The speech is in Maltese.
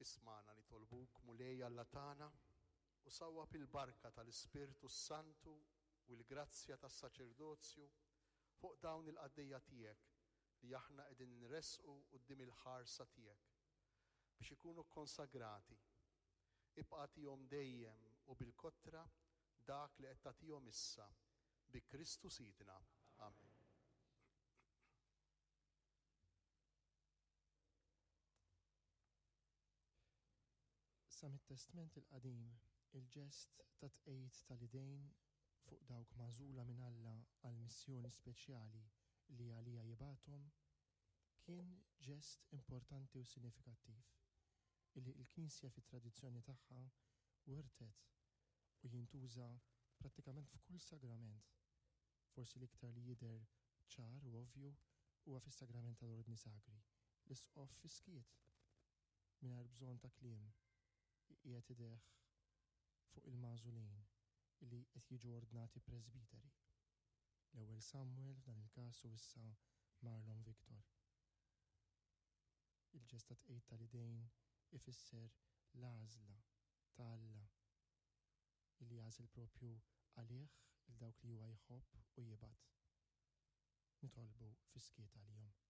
Ismagħna nitolbuk, Mulej Alla tagħna, u sawwab il-barka tal-Ispirtu s-Santu u l-grazzja tas-saċerdozju fuq dawn il-qaddejja tiegħek li aħna qegħdin inressqu quddiem il-ħarsa tiegħek biex ikunu kkonsagrati. Ibqa' agħtihom dejjem u bil-kotra dak li qed tagħtihom issa, bi Kristu Sidna. Amen. Sa mit-Testment il-Qadim, il-ġest ta' tqegħid tal-idejn fuq dawk magħżula minn Alla għal missjoni speċjali li għaliha jibgħathom, kien ġest importanti u sinifikattiv illi l-Knisja fit-tradizzjoni tagħha wirtet u jintuża prattikament f'kull sagrament. Forsi l-iktar li jidher ċar u ovvju huwa fis-sagrament tal-Ordni Sagri, l-Isqof fis-skiet, mingħajr bżonn ta' kliem, iqiegħed idejh fuq il-magħżulin li qed jiġu ordnati presbiteri. L-ewwel Samuel f'dan il-każ u issa Marlon Victor. Il-ġest ta' tqegħid tal-idejn ifisser l-għażla ta' Alla illi jagħżel propju għalih 'il dawk li huwa jħobb u jibgħat. Nitolbu fis-skiet għalihom.